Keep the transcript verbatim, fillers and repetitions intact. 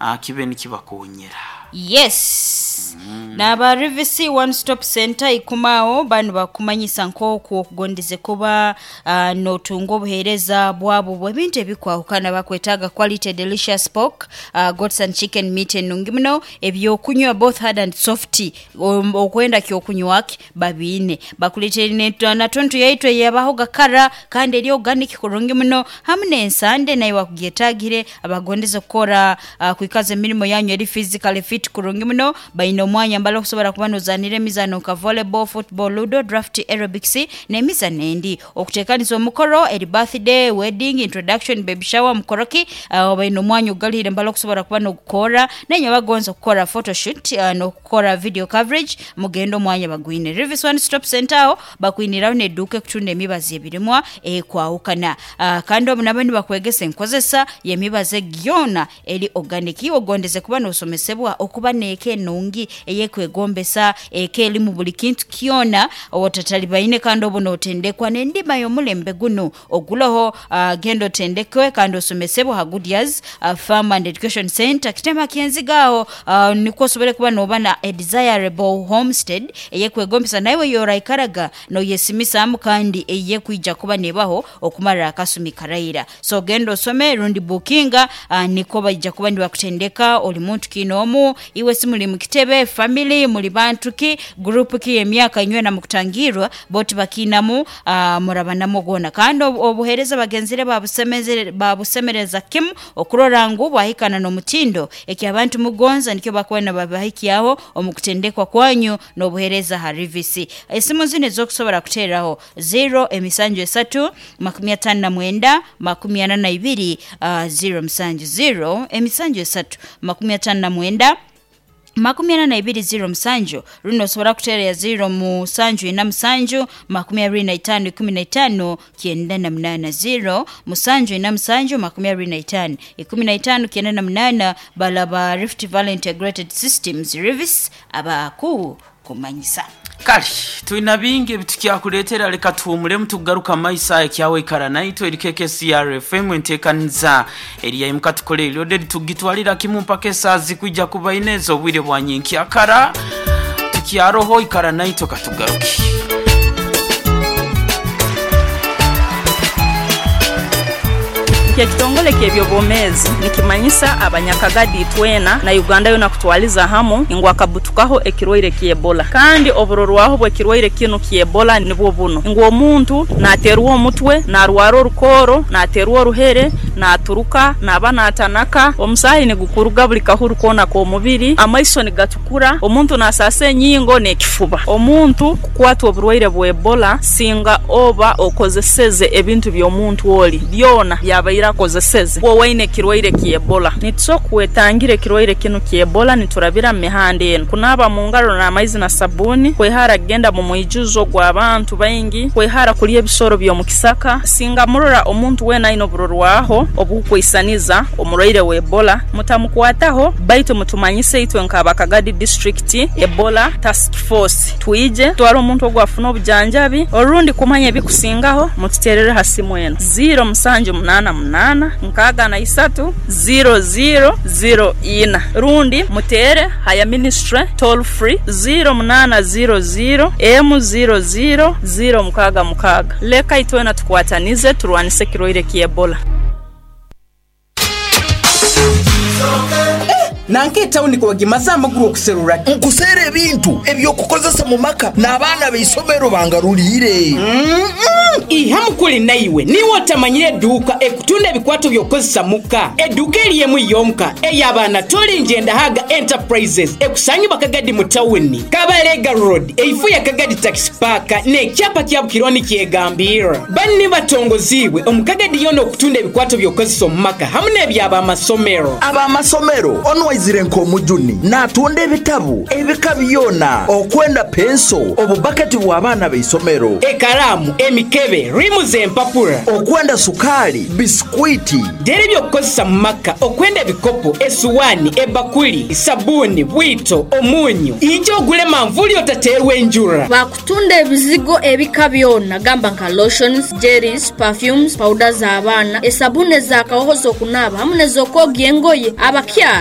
uh, kibe nikibakonyera. Yes, naba Rivisi One Stop Center ikumao banu bakumanyisa nk'oku okugondeze kuba uh, notunga obuheereza bwabo bw'ebintu ebikwahukana. Bakwetaaga quality delicious pork, uh, goats and chicken meat enungi muno, ebyokunywa both hard and soft, um, okwenda kyokunywa ki babiine, bakuleetera natontu yaitu eyabaho gakara kandi eri organic kurungi muno, hamu n'ensande nayo wakugyetaagire. Abagondeze kukora uh, kwikaza emirimo yanyu eri physically fit kurungi muno, baine omwanya mbala okusobola kuba nozanira emizano nka volleyball, football, ludo, draft, aerobics n'emizano endi. Okuteekaniza omukoro eri birthday, wedding, introduction, baby shower, mukoroki, uh, baine omwanya ogugalire mbala okusobola kuba nogukora. Nenye bagonza okukora photoshoot uh, n'okukora video coverage, mugende omwanya bagwine Rivis One Stop Center. Aho bakwiniraho n'edduuka ekutunda emibazi ebirimwa ekwawukana, uh, kandi obu nabo nibakwegesa enkozesa y'emibazi gyona eri organic. Iwe ogondeze kuba nosomesebwa okuba n'eka enungi eyekwegombesa, eka erimu buli kintu kyona otatalibaine, kandi obu notendekwa n'endima y'omulembe gunu oguloho, uh, genda otendekwe kandi osomesebwe ha Goodyears uh, Farm and Education Center Kitema Kyenziga aho, uh, nikwo osobole kuba noba na a desirable homestead eyekwegombesa naiwe yoraikaraga noyesimisaamu kandi eyekwija kuba nebaho okumara akasumi karaira. So genda osome rundi bukinga, uh, niko baija kuba nibakutendeka. Oli muntu kinoomu iwe, si muli mukitebe family, muli bantu ki, group ki, emyaka inywena mukutangirwa boti bakiinamu, uh, murabanamu gwona. Kandi obuheereza bagenzire babusemeze babusemereza kimu okurora ngu bwahikana n'omutindo eki abantu mugonza, nikyo bakuba nababahikyaho omu kutendekwa kwanyu n'obuheereza ha Rivisi. Esimu zinu ezokusobora kuteeraho: zero emisanju esatu makumi ataano na mwenda makumi ana na ibiri uh, zero musanju, zero emisanju esatu makumi ataano na mwenda makumi ana na ibiri zero musanju, rundi osobola kuteera ya zero musanju ina musanju makumi abiri na itaano ikumi na itaano kyenda na munaana, zero musanju ina musanju makumi abiri na itaano ikumi na itaano kyenda na munaana. Balaba Rift Valley Integrated Systems Rivis abaku kumanyisa. Kale tulina bingi ebitukyakuleetera, leka tuwumulemu tugaruka maiso ekyawe. Ikara naitwe, eri K K C R F M, enteekaniza eriyaimuka tukole eryoderi tugitwalira kimu mpaka esaaha zikwijja kuba ineeza obwire bwa nyenkyakara. Tukyaroho, ikara naitwe, katugaruke. Ekitongole ky'ebyobwomeezi nikimanyisa abanyakagadi twena na Uganda yona kutwaliza hamu ngu akabutukaho ekirwaire ky'Ebola, kandi oburorwaho bw'ekirwaire kinu ky'Ebola nibwo buno: ngu omuntu naterwa omutwe, narwara orukooro, naterwa oruhere, naturuka, naba natanaka, omusaahi nigukuruga buli kahuru koona k'omubiri, amaiso nigatukura, omuntu nasaasa enyingo n'ekifuba. Omuntu kukwatwa oburwaire bwa Ebola singa oba okozeseze ebintu by'omuntu oli byona byabaire akozeseze wowaine ekirwaire ky'Ebola. Nitusobola kwetangira ekirwaire kinu ky'Ebola niturabira mu mihanda enu: kunaaba mu ngaro n'amaizi na sabuuni, kwehara kugenda mu mwijuzo gw'abantu baingi, kwehara kulya ebisoro by'omu kisaka. Singa murora omuntu weena aine oburorwaho obukwisaniza omurwaire wa Ebola, mutamukwataho, baitu mutumanyise itwe nk'abakagadi District Ebola Task Force, twije twara omuntu ogu afune obujanjabi. Orundi kumanya ebikusingaho, mututerere ha simu enu: zero musanju munaana munaana nkaaga na isatu zero zero zero ina, rundi muteere haya ministry toll free zero munaana zero zero emu zero zero zero mukaaga mukaaga. Leka itwena tukwatanize turwanise ekirwaire ky'Ebola. Nanka etawuni kubagimaze amaguru okuserura. Nkuseera ebintu ebyokukozesa mu maka n'abaana b'isomero bangaruliire. Iha mukuli, naiwe niwe otamanyire edduuka ekutunda ebikwato by'okukozesa muka, edduuka eriemu yonka ey'abaana Tolinjendahaga Enterprises, ekusangibwa Kagadi mu tawuni Kabalega Road, eifu ya Kagadi Taxi Park n'ekyapa kya Bukironi kyegambirra. Banni batongoziibwe omu Kagadi yona okutunda ebikwato by'okukozesa omu maka hamu n'eby'abamasomero. Ab'amasomero onwaizire nk'omujuni n'atunda ebitabu ebika byona, okwenda penso, obubaketi bw'abaana b'isomero, ekaramu, emikebe, rimu z'empapura, okwenda sukaali, bisikwiti, dera ebyokukozesa mu maka, okwenda ebikopo, esuwaani, ebakuli, sabuni, bwito, omunyu. Ija ogule manvuli otateerwa enjura. Bakutunda ebizigo ebika byona, gamba nka lotions, jellies, perfumes, powder z'abaana, esabuni ez'akahoho z'okunaaba hamu n'ez'okwogya engoye abakyara.